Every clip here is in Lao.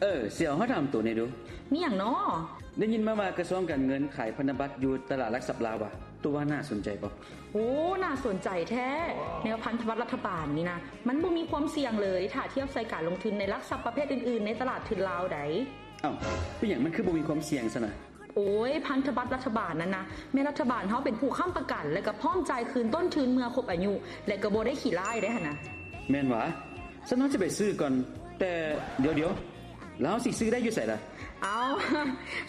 ເອີ ຊິເອົາ ເຮົາຖາມໂຕແດ່ດູ. ມີຫຍັງນໍ? ໄດ້ຍິນມາວ່າກະຊວງການເງິນຂາຍພັນທະບັດຢູ່ຕະຫຼາດຫຼັກຊັບລາວວ່າ ໂຕວ່າໜ້າສົນໃຈບໍ່? ໂອ້ ໜ້າສົນໃຈແທ້. ແນວພັນທະບັດລັດຖະບານນີ້ນະ ມັນບໍ່ມີຄວາມສ່ຽງເລີຍ ຖ້າທຽບໃສ່ການລົງທຶນໃນຫຼັກຊັບປະເພດອື່ນໆ ໃນຕະຫຼາດທຶນລາວໃດ໋. ເອົ້າ ເປັນຫຍັງມັນຄືບໍ່ມີຄວາມສ່ຽງຊັ້ນນະ? ໂອ້ຍ ພັນທະບັດລັດຖະບານນັ້ນນະ ແມ່ນລັດຖະບານເຮົາເປັນຜູ້ຄ້ຳປະກັນ ແລະກະພ້ອມຈ່າຍຄືນຕົ້ນທຶນເມື່ອຄົບອາຍຸ ແລະກະບໍ່ໄດ້ຂີ້ລ້າຍໄດ໋ຫັ້ນນະ. ແມ່ນຫວາ? ຊັ້ນເຮົາຈະໄປຊື້ກ່ອນ. ແຕ່ດຽວໆ ແລ້ວເຮົາຊິຊື້ໄດ້ຢູ່ໃສລະ? ເອົ້າ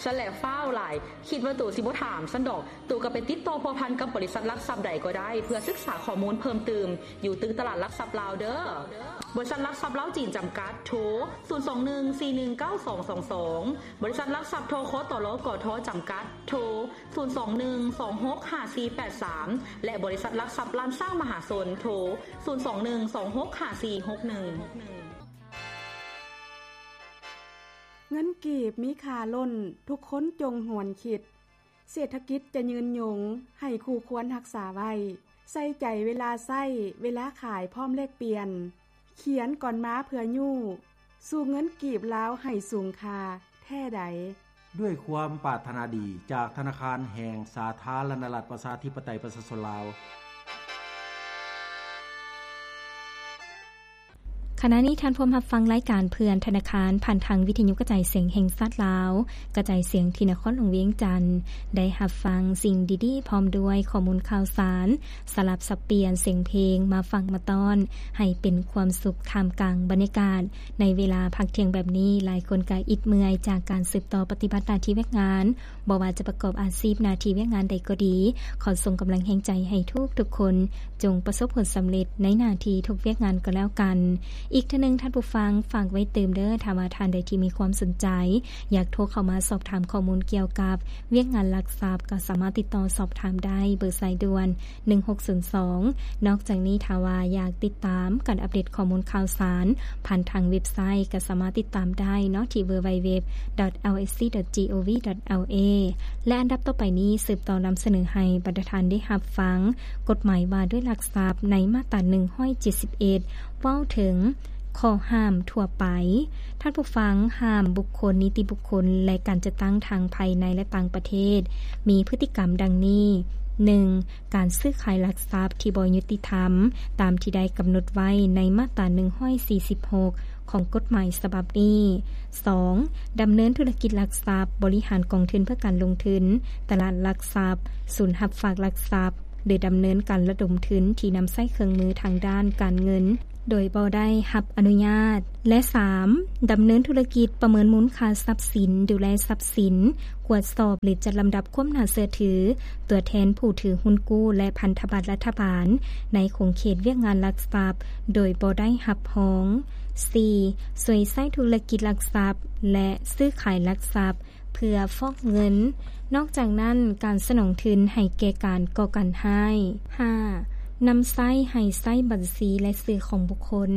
ຊັ້ນແຫຼະຟ້າວຫຼາຍ ຄິດວ່າໂຕຊິບໍ່ຖາມຊັ້ນດອກ. ໂຕກະໄປຕິດຕໍ່ພົວພັນກັບບໍລິສັດຫຼັກຊັບໃດກໍໄດ້ ເພື່ອສຶກສາຂໍ້ມູນເພີ່ມຕື່ມ ຢູ່ຕຶກຕະຫຼາດຫຼັກຊັບລາວເດີ້. ບໍລິສັດຫຼັກຊັບລາວຈີນຈຳກັດ ໂທ ສູນສອງໜຶ່ງ ສີ່ໜຶ່ງເກົ້າສອງສອງສອງ. ບໍລິສັດຫຼັກຊັບ ທຄຕລ ກທ ຈຳກັດ ໂທ ສູນສອງໜຶ່ງສອງຫົກຫ້າສີ່ແປດສາມ ແລະ ບໍລິສັດຫຼັກຊັບລ້ານຊ້າງມະຫາຊົນ ໂທ ສູນສອງໜຶ່ງສອງຫົກຫ້າສີ່ຫົກໜຶ່ງ. ເງິນກີບມີຄ່າລົ້ນ ທຸກຄົນຈົ່ງຫວນຄິດ. ເສດຖະກິດຈະຍືນຍົງ ໃຫ້ຄູ່ຄວນຮັກສາໄວ້. ໃສ່ໃຈເວລາໃຊ້ ເວລາຂາຍ ພ້ອມແລກປ່ຽນ. ຂຽນກ່ອນມາເພື່ອຍູ້ ສູ່ເງິນກີບລາວໃຫ້ສູງຄ່າແທ້ໃດ. ດ້ວຍຄວາມປາດຖະໜາດີ ຈາກທະນາຄານແຫ່ງສາທາລະນະລັດ ປະຊາທິປະໄຕ ປະຊາຊົນລາວ. ຂະນະນີ້ທ່ານພວມຮັບຟັງລາຍການເພື່ອນທະນາຄານ ຜ່ານທາງວິທະຍຸກະຈາຍສຽງແຫ່ງຊາດລາວ, ກະຈາຍສຽງທີ່ນະຄອນຫຼວງວຽງຈັນ. ໄດ້ຮັບຟັງສິ່ງດີໆ ພ້ອມດ້ວຍຂໍ້ມູນຂ່າວສານ ສະຫຼັບສັບປ່ຽນສຽງເພງມາຝາກມາຕ້ອນ ໃຫ້ເປັນຄວາມສຸກທ່າມກາງບັນຍາກາດ. ໃນເວລາພັກທ່ຽງແບບນີ້, ຫຼາຍຄົນກະອິດເມື່ອຍຈາກການສືບຕໍ່ປະຕິບັດໜ້າທີ່ວຽກງານ, ບໍ່ວ່າຈະປະກອບອາຊີບໜ້າທີ່ວຽກງານໃດກໍດີ, ຂໍສົ່ງກຳລັງແຮງໃຈໃຫ້ທຸກໆຄົນ ຈົ່ງປະສົບຜົນສຳເລັດໃນໜ້າທີ່ທຸກວຽກງານກໍແລ້ວກັນ. ອີກເທື່ອໜຶ່ງທ່ານຜູ້ຟັງ, ຝາກໄວ້ຕື່ມເດີ້, ຖ້າວ່າທ່ານໃດທີ່ມີຄວາມສົນໃຈ ຢາກໂທເຂົ້າມາສອບຖາມຂໍ້ມູນກ່ຽວກັບວຽກງານຫຼັກຊັບ, ກໍສາມາດຕິດຕໍ່ສອບຖາມໄດ້ ເບີສາຍດ່ວນ ໜຶ່ງຫົກສູນສອງ. ນອກຈາກນີ້, ຖ້າວ່າຢາກຕິດຕາມການອັບເດດຂໍ້ມູນຂ່າວສານ ຜ່ານທາງເວັບໄຊ ກໍສາມາດຕິດຕາມໄດ້ເນາະ ທີ່ www.lsc.gov.la. ແລະ ອັນດັບຕໍ່ໄປນີ້ ສືບຕໍ່ນຳສະເໜີໃຫ້ບັນດາທ່ານໄດ້ຮັບຟັງ ກົດໝາຍວ່າດ້ວຍຫຼັກຊັບ ໃນມາດຕາໜຶ່ງຮ້ອຍເຈັດສິບເອັດ ເວົ້າເຖິງຂໍ້ຫ້າມທົ່ວໄປ. ທ່ານຜູ້ຟັງ, ຫ້າມບຸກຄົນ, ນິຕິບຸກຄົນ ແລະ ການຈັດຕັ້ງທັງພາຍໃນ ແລະ ຕ່າງປະເທດ ມີພຶດຕິກຳດັ່ງນີ້: ໜຶ່ງ ການຊື້ຂາຍຫຼັກຊັບທີ່ບໍ່ຍຸຕິທຳ ຕາມທີ່ໄດ້ກຳນົດໄວ້ໃນມາດຕາໜຶ່ງຮ້ອຍສີ່ສິບຫົກ ຂອງກົດໝາຍສະບັບນີ້. ສອງ ດຳເນີນທຸລະກິດຫຼັກຊັບ, ບໍລິຫານກອງທຶນເພື່ອການລົງທຶນ, ຕະຫຼາດຫຼັກຊັບ, ສູນຮັບຝາກຫຼັກຊັບ ຫຼື ດຳເນີນການລະດົມທຶນທີ່ນຳໃຊ້ເຄື່ອງມືທາງດ້ານການເງິນ ໂດຍບໍ່ໄດ້ຮັບອະນຸຍາດ ແລະ ສາມ ດຳເນີນທຸລະກິດປະເມີນມູນຄ່າຊັບສິນ, ດູແລຊັບສິນ, ກວດສອບ ຫຼື ຈັດລຳດັບຄວາມໜ້າເຊື່ອຖືຕົວແທນຜູ້ຖືຮຸ້ນກູ້ ແລະ ພັນທະບັດລັດຖະບານ ໃນຂົງເຂດວຽກງານຫຼັກຊັບ ໂດຍບໍ່ໄດ້ຮັບຮອງ. ສີ່ ຊ່ວຍໃຊ້ທຸລະກິດຫຼັກຊັບ ແລະ ຊື້ຂາຍຫຼັກຊັບ ເພື່ອຟອກເງິນ. ນອກຈາກນັ້ນ, ການສະໜອງທຶນໃຫ້ແກ່ການກໍ່ການຮ້າຍ. ຫ້າ ນຳໃຊ້ໃຫ້ໃຊ້ບັນຊີ ແລະ ຊື່ຂອງບຸກຄົນ,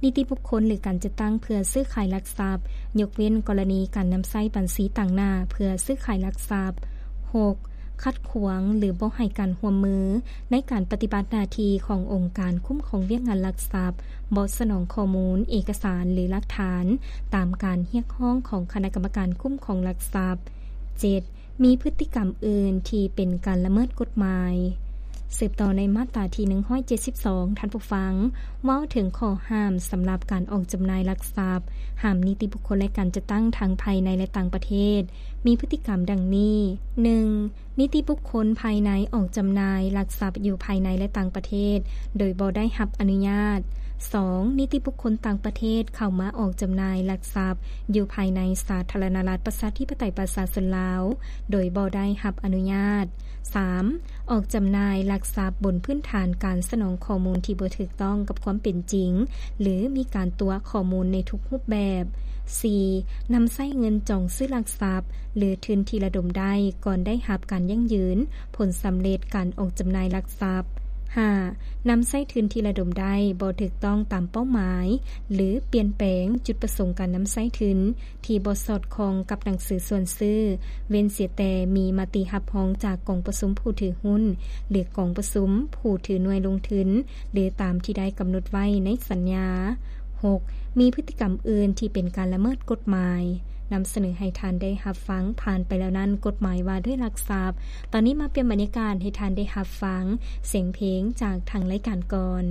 ນິຕິບຸກຄົນ ຫຼື ການຈັດຕັ້ງເພື່ອຊື້ຂາຍຫຼັກຊັບ, ຍົກເວັ້ນກໍລະນີການນຳໃຊ້ບັນຊີຕາງໜ້າເພື່ອຊື້ຂາຍຫຼັກຊັບ. ຫົກ ຂັດຂວາງ ຫຼື ບໍ່ໃຫ້ການຮ່ວມມືໃນການປະຕິບັດໜ້າທີ່ຂອງອົງການຄຸ້ມຄອງວຽກງານຫຼັກຊັບ, ບໍ່ສະໜອງຂໍ້ມູນ, ເອກະສານ ຫຼື ຫຼັກຖານ ຕາມການຮຽກຮ້ອງຂອງຄະນະກຳມະການຄຸ້ມຄອງຫຼັກຊັບ. ເຈັດ ມີພຶດຕິກຳອື່ນທີ່ເປັນການລະເມີດກົດໝາຍ. ສືບຕໍ່ໃນມາດຕາທີໜຶ່ງຮ້ອຍເຈັດສິບສອງ ທ່ານຜູ້ຟັງ, ເວົ້າເຖິງຂໍ້ຫ້າມສຳລັບການອອກຈຳໜ່າຍຫຼັກຊັບ, ຫ້າມນິຕິບຸກຄົນ ແລະ ການຈັດຕັ້ງທັງພາຍໃນ ແລະ ຕ່າງປະເທດ ມີພຶດຕິກຳດັ່ງນີ້: ໜຶ່ງ ນິຕິບຸກຄົນພາຍໃນອອກຈຳໜ່າຍຫຼັກຊັບຢູ່ພາຍໃນ ແລະ ຕ່າງປະເທດ ໂດຍບໍ່ໄດ້ຮັບອະນຸຍາດ. ສອງ ນິຕິບຸກຄົນຕ່າງປະເທດເຂົ້າມາອອກຈຳໜ່າຍຫຼັກຊັບຢູ່ພາຍໃນສາທາລະນະລັດ ປະຊາທິປະໄຕ ປະຊາຊົນລາວ ໂດຍບໍ່ໄດ້ຮັບອະນຸຍາດ. ສາມ ອອກຈຳໜ່າຍຫຼັກຊັບບົນພື້ນຖານການສະໜອງຂໍ້ມູນທີ່ບໍ່ຖືກຕ້ອງກັບຄວາມເປັນຈິງ ຫຼື ມີການຕົວະຂໍ້ມູນໃນທຸກຮູບແບບ. ສີ່ ນຳໃຊ້ເງິນຈອງຊື້ຫຼັກຊັບ ຫຼື ທຶນທີ່ລະດົມໄດ້ກ່ອນໄດ້ຮັບການຢັ້ງຢືນຜົນສຳເລັດການອອກຈຳໜ່າຍຫຼັກຊັບ. ຫ້າ ນຳໃຊ້ທຶນທີ່ລະດົມໄດ້ບໍ່ຖືກຕ້ອງຕາມເປົ້າໝາຍ ຫຼື ປ່ຽນແປງຈຸດປະສົງການນຳໃຊ້ທຶນ ທີ່ບໍ່ສອດຄ່ອງກັບໜັງສືຊວນຊື້, ເວັ້ນເສຍແຕ່ມີມະຕິຮັບຮອງຈາກກອງປະຊຸມຜູ້ຖືຮຸ້ນ ຫຼື ກອງປະຊຸມຜູ້ຖືໜ່ວຍລົງທຶນ ຫຼື ຕາມທີ່ໄດ້ກຳນົດໄວ້ໃນສັນຍາ. ຫົກ ມີພຶດຕິກຳອື່ນທີ່ເປັນການລະເມີດກົດໝາຍ. ນຳສະເໜີໃຫ້ທ່ານໄດ້ຮັບຟັງຜ່ານໄປແລ້ວນັ້ນ ກົດໝາຍວ່າດ້ວຍລັກຊັບ. ຕອນນີ້ມາປ່ຽນບັນຍາກາດໃຫ້ທ່ານໄດ້ຮັບຟັງສຽງເພງຈາກທາງລາຍການກ່ອນ.